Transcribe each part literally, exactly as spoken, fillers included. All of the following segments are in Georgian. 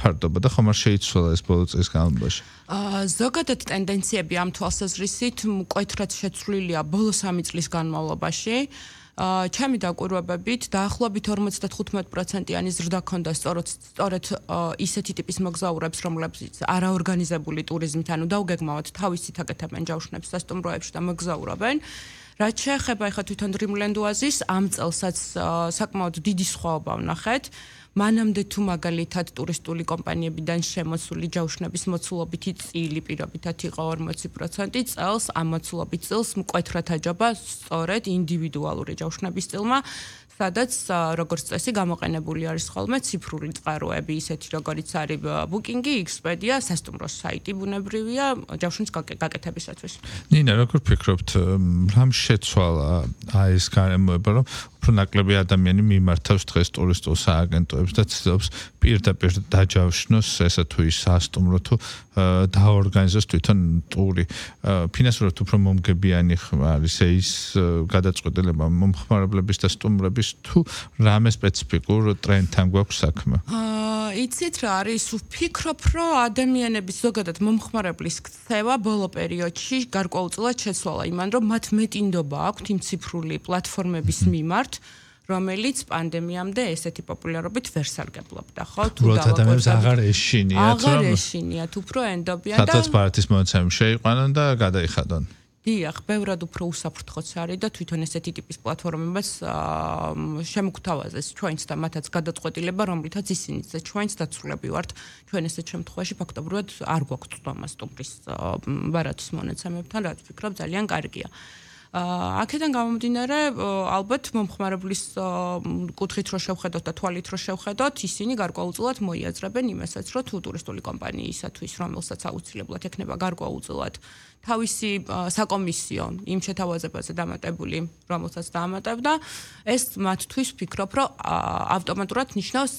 ფარდობა და ხომ არ შეიცვალა ეს ბოლო წლის განმავლობაში? ზოგადად ტენდენციები ამ თვალსაზრისით მკვეთრად შეცვლილია ბოლო სამი წლის განმავლობაში. ჩემი დაკვირვებებით დაახლოებით ორმოცდათხუთმეტ პროცენტიანი ზრდა ჰქონდა სწორედ სწორედ ისეთი ტიპის მოგზაურებს, რომლებიც არაორგანიზებული ტურიზმით, ანუ დაუგეგმავად თავისით აკეთებენ ჯავშნებს სასტუმროებში და მოგზაურობენ. რაც შეეხება ახლა თვითონ Dreamland Oasis, ამ წელსაც საკმაოდ დიდი სხვაობა ვნახეთ. მანამდე თუ მაგალითად ტურისტული კომპანიებიდან შემოსული ჯავშნების მოცულობითი წილი პირობითად იყო ორმოცი პროცენტი, წელს ამ მოცულობით წილს მკვეთრად აჯობა სწორედ ინდივიდუალური ჯავშნების წილმა, სადაც როგორც წესი გამოყენებული არის ხოლმე ციფრული წყაროები, ისეთი როგორიც არის Booking-ი, Expedia, სასტუმროს საიტი ბუნებრივია ჯავშნის გაკეთებისათვის. ნინა, როგორ ფიქრობთ, რამ შეცვალა აი ეს გარემოება, რომ უფრო ნაკლები ადამიანი მიმართავს დღეს ტურისტულ სააგენტოებს და ცდილობს პირდაპირ დაჯავშნოს ესა თუ ის სასტუმრო თუ დაორგანიზოს თვითონ ტური. ფინანსურად უფრო მომგებიანი არის ის გადაწყვეტილება მომხმარებლების და სტუმრების თუ რამე სპეციფიკურ ტრენდთან გვაქვს საქმე? აა იცით რა არის, ვფიქრობ, რომ ადამიანების ზოგადად მომხმარებლის ქცევა ბოლო პერიოდში გარკვეულწილად შეცვალა იმან, რომ მათ მეტი ნდობა აქვთ იმ ციფრული პლატფორმების მიმართ, რომელიც პანდემიამდე ესეთი პოპულარობით ვერ სარგებლობდა, ხო? თუ ადამიანებს აღარ ეშინიათ, აღარ ეშინიათ, უფრო ენდობიან და სადაც პარტის მონაცემი შეიყვანონ და გადაიხადონ. დიახ, ბევრად უფრო უსაფრთხოც არის და თვითონ ესეთი ტიპის პლატფორმებიც შემოგთავაზეს ჩვენც და მათაც გადაწყვეტილება, რომლითაც ისინიც და ჩვენც დაცულები ვართ. ჩვენ ესეთ შემთხვევაში ფაქტობრივად არ გვაქვს წვდომა სტუმრის ბარათის მონაცემებთან, რაც ვფიქრობ ძალიან კარგია. აქედან გამომდინარე, ალბათ მომხმარებლის კუთხით რო შევხედოთ და თვალით რო შევხედოთ, ისინი გარკვეულწილად მოიაზრებენ იმასაც, რომ თუ ტურისტული კომპანიისათვის, რომელსაც აუცილებლად ექნება გარკვეულწილად თავისი საკომისიო იმ შეთავაზებაზე დამატებული, რომელსაც დაამატებდა, ეს მათთვის ვფიქრობ, რომ ავტომატურად ნიშნავს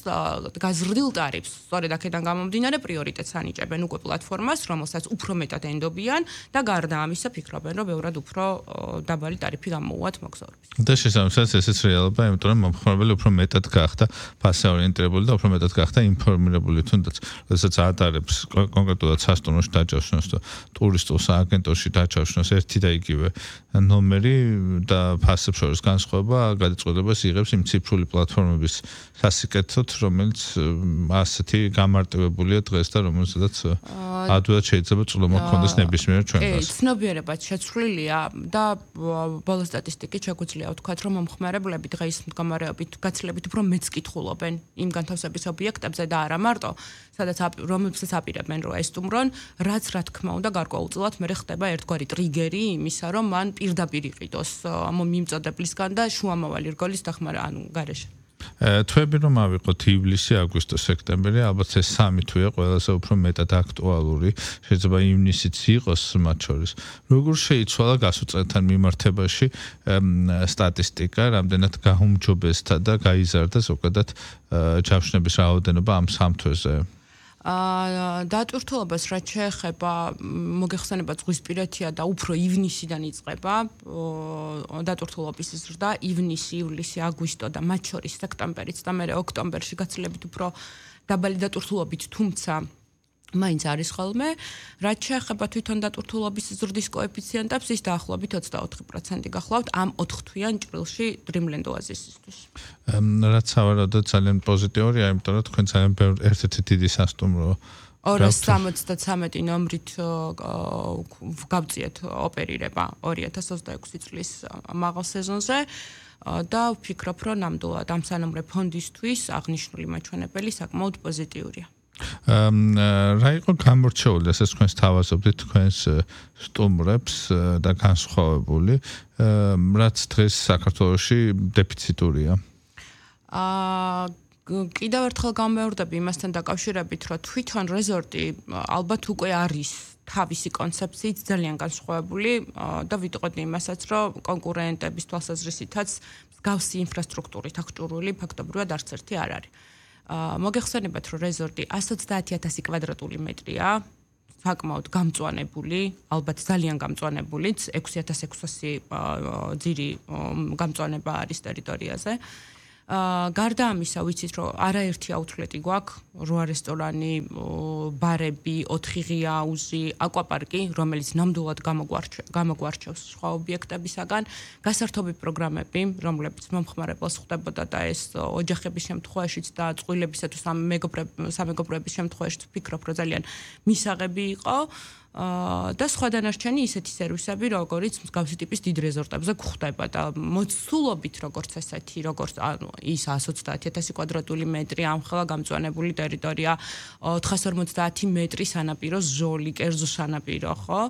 გაზრდილ ტარიფს. სწორედ აქედან გამომდინარე, პრიორიტეტს ანიჭებენ უკვე პლატფორმას, რომელსაც უფრო მეტად ენდობიან და გარდა ამისა ფიქრობენ, რომ ბევრად უფრო დაბალი ტარიფი გამოუვათ მოგზაურებს. და შესაბამისად ესეც რეალობა, იმიტომ რომ მომხმარებელი უფრო მეტად გახდა ფასე ორიენტირებული და უფრო მეტად გახდა ინფორმირებული, თუნდაც როდესაც ატარებს კონკრეტულად სასტუმროში დაჯავშნოს და ტურისტულ სააგენტოში დაჯავშნოს ერთი და იგივე ნომერი და ფასებს შორის განსხვავება გადაწყვეტილებას იღებს იმ ციფრული პლატფორმების სასიკეთოდ, რომელიც ასეთი გამარტივებულია დღეს და რომელსაც ადვილად შეიძლება წვდომა ჰქონდეს ნებისმიერ ჩვენგანს. კი, ცნობიერებად შეცვლილია და ბოლო სტატისტიკით შეგვიძლია ვთქვათ, რომ მომხმარებლები დღეს მდგომარეობით გაცილებით უფრო მეც კითხულობენ იმ განთავსების ობიექტებზე და არა მარტო, სადაც რომელსაც აპირებენ რომ ესტუმრონ, რაც რა თქმა უნდა გარკვეულწილად მე ხდება ერთგვარი ტრიგერი იმისა, რომ მან პირდაპირ იყიდოს ამ მიმწოდებლისგან და შუამავალი რგოლის დახმარა, ანუ გარეშე. თვეები რომ ავიღოთ ივლისი, აგვისტო, სექტემბერი, ალბათ ეს სამი თვეა ყველაზე უფრო მეტად აქტუალური, შეიძლება ივნისიც იყოს მათ შორის. როგორ შეიცვალა გასულ წელთან მიმართებაში სტატისტიკა, რამდენად გაუმჯობესდა და გაიზარდა ზოგადად ჯავშნების რაოდენობა ამ სამ თვეზე? აა დატვირთულობას რაც შეეხება მოგეხსენება ზღვისპირეთია და უფრო ივნისიდან იწყება დატვირთულობის ზრდა, ივნისი, ივლისი, აგვისტო და მათ შორის სექტემბერიც და მე ოქტომბერში გაცილებით უფრო დაბალი დატვირთულობით, თუმცა მაინც არის ხოლმე, რაც შეეხება თვითონ დატვირთულობის ზრდის კოეფიციენტებს, ის დაახლოებით ოცდაოთხი პროცენტი გახლავთ ამ ოთხთვიან ჭრილში Dreamland Oasis-ისთვის. რაც სავარაუდოდ ძალიან პოზიტიურია, იმიტომ რომ თქვენ ძალიან ერთ-ერთი დიდი სასტუმრო ორას სამოცდათრამეტი ნომრით გავწიეთ ოპერირება ორი ათას ოცდაექვსი წლის მაღალ სეზონზე და ვფიქრობ, რომ ნამდვილად ამ სანომრე ფონდისთვის აღნიშნული მაჩვენებელი საკმაოდ პოზიტიურია. რა იყო გამორჩეული, ასე თქვენს თავაზობთ თქვენს სტუმრებს და განსხვავებული, რაც დღეს საქართველოში დეფიციტურია? აა კიდევ ერთხელ გამეორდები იმასთან დაკავშირებით, რომ თვითონ რეზორტი ალბათ უკვე არის თავისი კონცეფციით ძალიან განსხვავებული და ვიტყოდი იმასაც, რომ კონკურენტების თვალსაზრისითაც მსგავსი ინფრასტრუქტურით აღჭურვილი ფაქტობრივად არც ერთი არ არის. მოგეხსენებათ, რომ რეზორტი ასი ოცდაათი ათასი კვადრატული მეტრია, საკმაოდ გამწვანებული, ალბათ ძალიან გამწვანებულიც, ექვსი ათას ექვსასი ძირი გამწვანება არის ტერიტორიაზე. გარდა ამისა, ვიცით, რომ არაერთი აუთლეტი გვაქვს, რვა რესტორანი, ბარები, ოთხი ღია აუზი, აკვაპარკი, რომელიც ნამდვილად გამოგვარჩევს სხვა ობიექტებისაგან, გასართობი პროგრამები, რომლებიც მომხმარებელს ხვდებოდა და ეს ოჯახების შემთხვევაშიც და წყვილებისა თუ სამეგობროების შემთხვევაშიც ვფიქრობ, რომ ძალიან მისაღები იყო. და სხვა დანარჩენი ისეთი სერვისები, როგორიც მსგავსი ტიპის დიდ რეზორტებზე გვხვდება და მოცულობით როგორც ესეთი, როგორც ანუ ის εκατს ოცდაათი ათასი კვადრატული მეტრი ამხელა გამწვანებული ტერიტორია, ოთხას ორმოცდაათი მეტრი სანაპირო ზოლი, კერძო სანაპირო, ხო?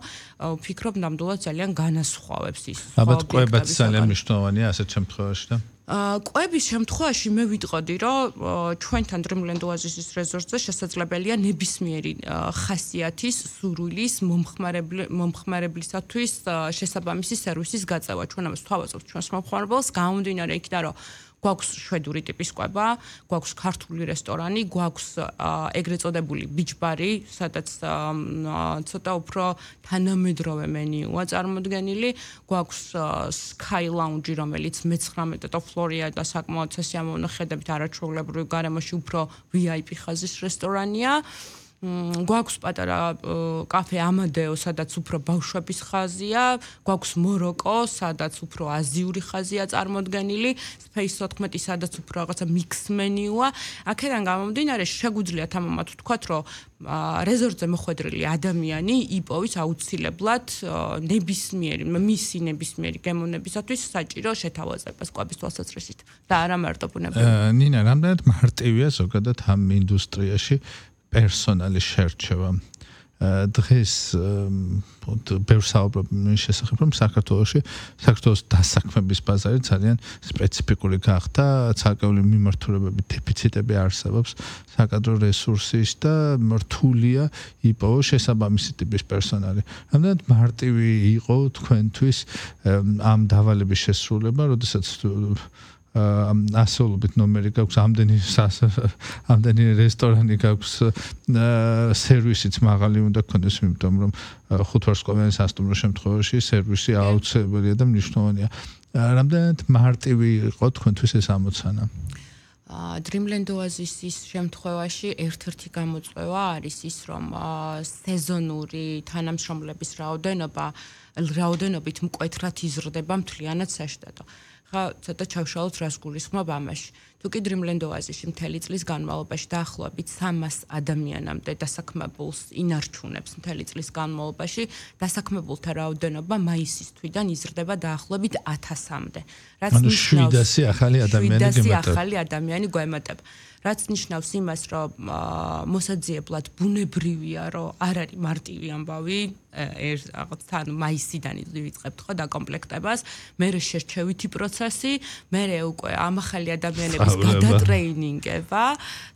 ვფიქრობ, ნამდვილად ძალიან განასხვავებს ის. ალბათ კვებაც ძალიან მნიშვნელოვანია ასეთ შემთხვევაში და კვების შემთხვევაში მე ვიტყოდი, რომ ჩვენთან Dreamland Oasis-ის რეზორტზე შესაძლებელია ნებისმიერი ხასიათის სურვილის მომხმარებლისათვის შესაბამისი სერვისის გაწევა. ჩვენ ამას ვთავაზობთ ჩვენს მომხმარებელს, გამომდინარე იქიდან, რომ გვაქვს შვედური ტიპის კვება, გვაქვს ქართული რესტორანი, გვაქვს ეგრეთ წოდებული ბიჩბარი, სადაც ცოტა უფრო თანამედროვე მენიუა წარმოდგენილი, გვაქვს Sky Lounge, რომელიც მეცხრამეტე ფლორია და საკმაოდ სასიამოვნო ხედებით არაჩვეულებრივ გარემოში უფრო V I P ხაზის რესტორანია. გვაქვს პატარა კაფე ამადეო, სადაც უფრო ბავშვების ხაზია, გვაქვს მოროკო, სადაც უფრო აზიური ხაზია წარმოდგენილი, Space ოთხმეტი, სადაც უფრო რაღაცა mix menu-ა. აქედან გამომდინარე, შეგვიძლიათ ამამად ვთქვათ, რომ რეზორტზე მოხვედრილი ადამიანი იპოვის აუცილებლად ნებისმიერი, მისი ნებისმიერი გემოვნებისათვის საჭირო შეთავაზებას კვების თვალსაზრისით და არა მარტო ბუნებრივი. ნინა, რამდენად მარტივია ზოგადად ამ ინდუსტრიაში პერსონალის შერჩევა. დღეს ბევრ საუბრობ მის შესახებ, რომ საქართველოში საქართველოს დასაქმების ბაზარი ძალიან სპეციფიკური გახდა, ცალკეული მიმართულებები, დეფიციტები არსებობს, საკადრო რესურსის და რთულია იპოვოს შესაბამისი ტიპის პერსონალი. რამდენად მარტივი იყო თქვენთვის ამ დავალების შესრულება, როდესაც ასეულობით ნომერი გაქვს, ამდენი ამდენი რესტორანი გაქვს, სერვისიც მაღალი უნდა გქონდეს, იმიტომ რომ ხუთვარსკვლავიანი სასტუმრო შემთხვევაში სერვისი აუცილებელია და მნიშვნელოვანია. რამდენად მარტივი იყო თქვენთვის ეს ამოცანა? Dreamland Oasis-ის შემთხვევაში ერთ-ერთი გამოწვევა არის ის, რომ სეზონური თანამშრომლების რაოდენობა რაოდენობით მკვეთრად იზრდება მთლიანად საშტატო. ხა ცოტა ჩავშალოთ რას გულისხმობ ამაში. თუ კი Dreamland Oasis-ში მთელი წლის განმავლობაში დაახლოებით სამას ადამიანამდე დასაქმებულს ინარჩუნებს მთელი წლის განმავლობაში, დასაქმებულთა რაოდენობა მაისის თვიდან იზრდება დაახლოებით ათასამდე. რაც ნიშნავს შვიდასი ახალი ადამიანი გემატება. ახალი ადამიანი გვემატება. რაც ნიშნავს იმას, რომ მოსაძიებლად ბუნებრივია, რომ არ არის მარტივი ამბავი, ერთ რაღაც თან მაისიდან ვიწყებთ ხო დაკომპლექტებას, მერე შერჩევითი პროცესი, მერე უკვე ამ ახალი ადამიანების გადატრეინინგება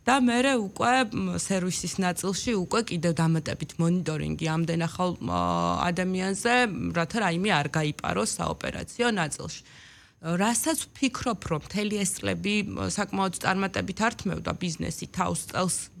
და მერე უკვე სერვისის ნაწილში უკვე კიდევ დამატებით მონიტორინგი ამდენ ახალ ადამიანზე, რათა რაიმე არ გაიპაროს საოპერაციო ნაწილში. რასაც ვფიქრობ, რომ მთელი ეს წლები საკმაოდ წარმატებით ართმევდა ბიზნესი თავს წელს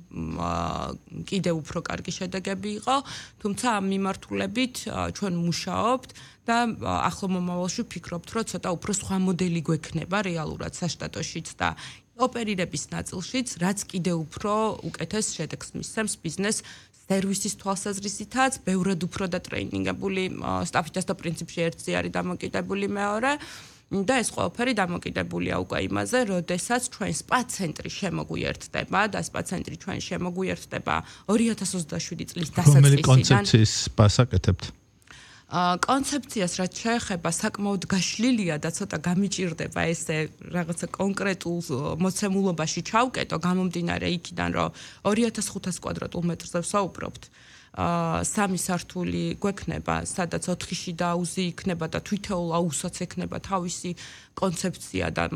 კიდევ უფრო კარგი შედეგები იყო, თუმცა ამ მიმართულებით ჩვენ მუშაობთ და ახლო მომავალში ვფიქრობთ, რომ ცოტა უფრო სხვა მოდელი გვექნება რეალურად საშტატოშიც და ოპერირების ნაწილშიც, რაც კიდევ უფრო უკეთეს შედეგს მისცემს ბიზნეს სერვისის თვალსაზრისითაც, ბევრად უფრო დატრეინინგებული სტაფითაც და პრინციპში ერთი არის დამოკიდებული მეორე. და ეს ყველაფერი დამოკიდებულია უკვე იმაზე, როდესაც ჩვენ სპა ცენტრი შემოგვიერთდება და სპა ცენტრი ჩვენ შემოგვიერთდება ორი ათას ოცდაშვიდი წლის დასაწყისიდან. რომელი კონცეფციის სპას აკეთებთ? კონცეფციას რაც შეეხება საკმაოდ გაშლილია და ცოტა გამიჭირდება ესე რაღაცა კონკრეტულ მოცემულობაში ჩავკეტო, გამომდინარე იქიდან, რომ ორი ათას ხუთას კვადრატულ მეტრზე ვსაუბრობთ. სამი სართული გვექნება, სადაც ოთხი შიდა აუზი იქნება და თვითეულ აუზსაც ექნება თავისი კონცეფცია და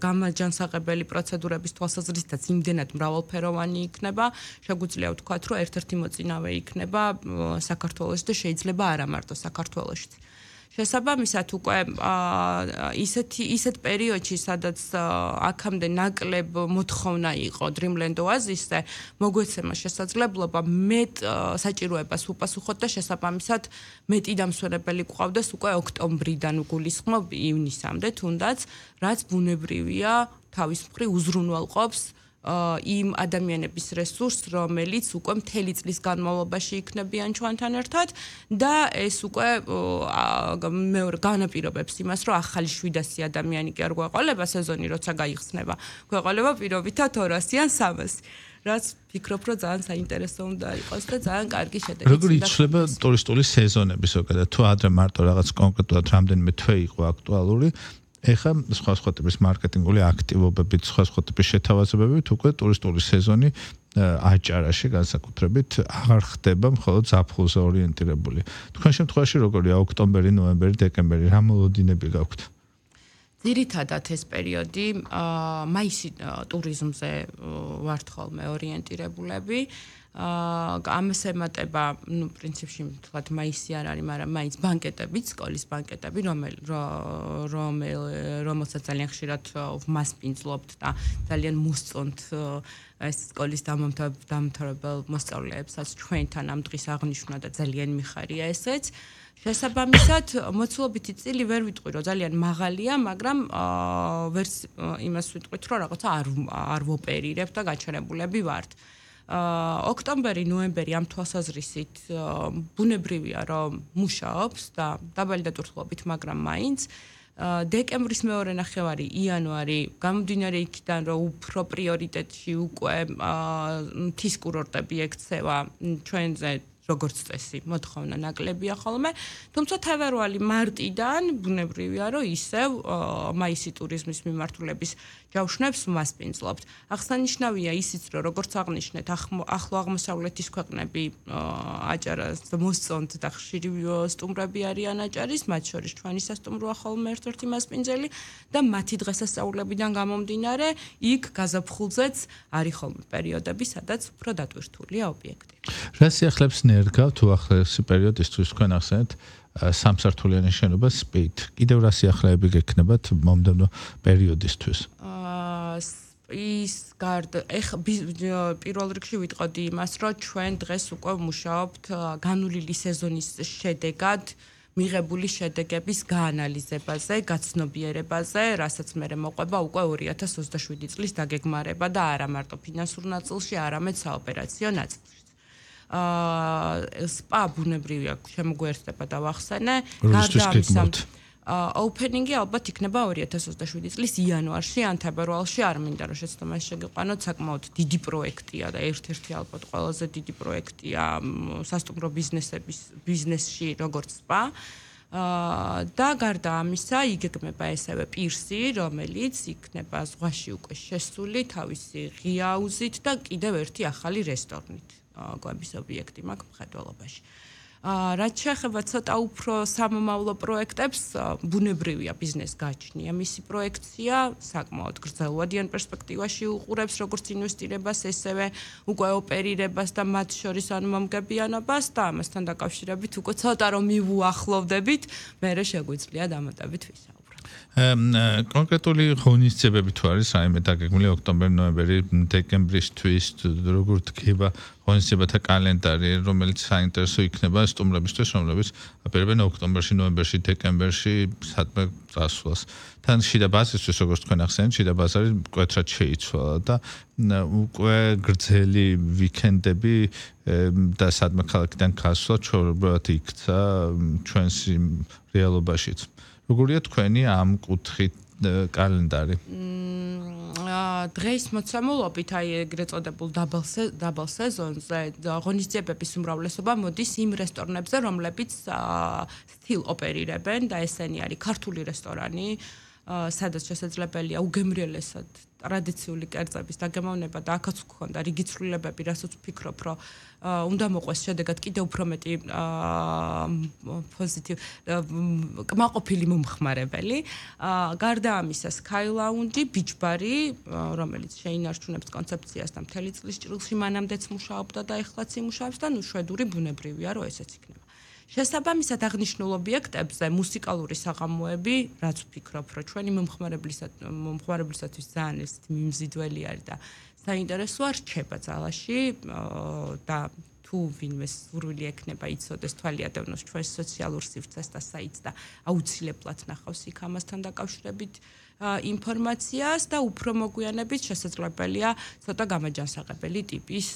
გამაჯანსაღებელი პროცედურების თვალსაზრისითაც იმდენად მრავალფეროვანი იქნება, შეგვიძლია ვთქვათ, რომ ერთ-ერთი მოწინავე იქნება საქართველოში და შეიძლება არა მარტო საქართველოშიც. შესაბამისად უკვე ისეთი ისეთ პერიოდში, სადაც აქამდე ნაკლებ მოთხოვნა იყო Dreamland Oasis-ზე, მოგვეცემა შესაძლებლობა მეტ საჭიროებას უპასუხოთ და შესაბამისად მეტი დამსვენებელი გვყავდეს უკვე ოქტომბრიდან უგულისხმობ ივნისამდე, თუნდაც რაც ბუნებრივია თავის მხრივ უზრუნველყოფს იმ ადამიანების რესურსს, რომელიც უკვე მთელი წლის განმავლობაში იქნებიან ჩვენთან ერთად და ეს უკვე მეორე განაპირობებს იმას, რომ ახალი შვიდასი ადამიანი კი არ გვეყოლება სეზონი, როცა გაიხსნება. გვეყოლება პირობითად ორასი ან სამასი. რაც ფიქრობ, რომ ძალიან საინტერესო უნდა იყოს და ძალიან კარგი შედეგი. როგორ იცვლება ტურისტული სეზონები ზოგადად? თუ ადრე მარტო რაღაც კონკრეტულად რამდენიმე თვე იყო აქტუალური, ეხლა სხვა სხვა ტიპის მარკეტინგული აქტივობებით, სხვა სხვა ტიპის შეთავაზებებით უკვე ტურისტული სეზონი აჭარაში განსაკუთრებით აღარ ხდება მხოლოდ ზაფხულზე ორიენტირებული. თქვენ შემთხვევაში როგორია ოქტომბერი, ნოემბერი, დეკემბერი, რა მოლოდინები გაქვთ? ძირითადად ეს პერიოდი მაისი ტურიზმზე ვართ ხოლმე ორიენტირებულები. ამას ემატება, ну, პრინციპში თქვათ მაისი არ არის, მაგრამ მაინც ბანკეტები, სკოლის ბანკეტები, რომელ რომელ რომელსაც ძალიან ხშირად ვმასპინძლობთ და ძალიან მოსწონთ ეს სკოლის დამთავრებელ მოსწავლეებსაც ჩვენთან ამ დღის აღნიშვნა და ძალიან მიხარია ესეც. შესაბამისად, მოცულობითი წილი ვერ ვიტყვი, რომ ძალიან მაღალია, მაგრამ ვერც იმას ვიტყვით, რომ რაღაცა არ არ ვოპერირებ და გაჩერებულები ვართ. ოქტომბერი, ნოემბერი ამ თვალსაზრისით ბუნებრივია, რომ მუშაობს და დაბალი დატვირთულობით, მაგრამ მაინც დეკემბრის მეორე ნახევარი, იანვარი, გამომდინარე იქიდან, რომ უფრო პრიორიტეტში უკვე მთის კურორტები ექცევა ჩვენზე როგორც წესი, მოთხოვნა ნაკლებია ხოლმე, თუმცა თებერვალი მარტიდან ბუნებრივია, რომ ისევ მაისი ტურიზმის მიმართულების ჯავშნებს ვმასპინძლობთ. აღსანიშნავია ისიც, რომ როგორც აღნიშნეთ, ახლო აღმოსავლეთის ქვეყნები აჭარას მოსწონთ და ხშირი სტუმრები არიან აჭარის, მათ შორის ჩვენი სასტუმროა ხოლმე ერთ-ერთი მასპინძელი და მათი დღესასწაულებიდან გამომდინარე, იქ გაზაფხულზეც არის ხოლმე პერიოდები, სადაც უფრო დატვირთულია ობიექტი. რა სიახლეებს ნერგავ თუ ახლა პერიოდისთვის თქვენ ახსენეთ სამსართულიანი შენობა სპით. კიდევ რა სიახლეები გექნებათ მომდევნო პერიოდისთვის? ის გარდა ეხ პირველ რიგში ვიტყოდი იმას, რომ ჩვენ დღეს უკვე ვმუშაობთ განვლილი სეზონის შედეგად მიღებული შედეგების გაანალიზებაზე, გაცნობიერებაზე, რასაც მე მოყვება უკვე ორი ათას ოცდაშვიდი წლის დაგეგმარება და არა მარტო ფინანსურ ნაწილში, არამედ საოპერაციო ნაწილში. სპა ბუნებრივია შემოგვერდება და ვახსენე. გარდა ამისა, ოპენინგი ალბათ იქნება ორი ათას ოცდაშვიდი წლის იანვარში ან თებერვალში, არ მინდა რომ შეცდომას შეგიყვანოთ, საკმაოდ დიდი პროექტია და ერთ-ერთი ალბათ ყველაზე დიდი პროექტია სასტუმრო ბიზნესების ბიზნესში როგორც სპა. და გარდა ამისა, იგეგმება ესევე პირსი, რომელიც იქნება ზღვაში უკვე შესული თავისი ღია აუზით და კიდევ ერთი ახალი რესტორნით. გვების ობიექტი მაქვს მხედველობაში. რაც შეეხება ცოტა უფრო სამომავლო პროექტებს, ბუნებრივია ბიზნეს გაჩნია მისი პროექცია, საკმაოდ გრძელვადიან პერსპექტივაში უყურებს როგორც ინვესტირებას, ესევე უკვე ოპერირებას და მათ შორის ანმომგებიანობას და ამასთან დაკავშირებით უკვე ცოტა რომ მივუახლოვდებით, მერე შეგვიძლია დამატებით ვისაუბროთ. კონკრეტული ღონისძიებები თუ არის რაიმე დაგეგმილი ოქტომბერი, ნოემბერი, დეკემბრისთვის, როგორ დგება ღონისძიებათა კალენდარი, რომელიც საინტერესო იქნება სტუმრებისთვის, რომლებიც აპირებენ ოქტომბერში, ნოემბერში, დეკემბერში სადმე წასვლას. თან შიდა ბაზისთვის, როგორც თქვენ ახსენეთ, შიდა ბაზარი მკვეთრად შეიცვალა და უკვე გრძელი ვიკენდები და სადმე ქალაქიდან გასვლა ჩვეულებრივად იქცა ჩვენს რეალობაშიც. როგორია თქვენი ამ კუთხით კალენდარი? დღეს მოცემულობით აი ეგრეთ წოდებულ დაბალ სეზონზე ღონისძიებების უმრავლესობა მოდის იმ რესტორნებზე, რომლებიც სტილ ოპერირებენ და ესენი არის ქართული რესტორანი, სადაც შესაძლებელია უგემრიელესად ტრადიციული კერძების დაგემოვნება და აქაც გქონდა რიგი ცვლილებები, რასაც ვფიქრობ, რომ უნდა მოყვეს შედეგად კიდევ უფრო მეტი პოზიტივ კმაყოფილი მომხმარებელი. გარდა ამისა, Sky Lounge, Beach Bar-ი, რომელიც შეინარჩუნებს კონცეფციას და მთელი წლის ჭრილში მანამდეც მუშაობდა და ეხლაც იმუშავებს და ნუ შვედური ბუნებრივია, რომ ესეც იქნება. შესაბამისად აღნიშნულ ობიექტებზე მუსიკალური საღამოები, რაც ვფიქრობ, რომ ჩვენი მომხმარებლისათვის ძალიან ესეთი მიმზიდველი არის და საინტერესოა რჩება ძალაში და თუ ვინმე სურვილი ექნება იცოდეს თვალი ადევნოს ჩვენს სოციალურ სივრცეს და საიტს და აუცილებლად ნახავს იქ ამასთან დაკავშირებით ინფორმაციას და უფრო მოგვიანებით შესაძლებელია ცოტა გამაჯანსაღებელი ტიპის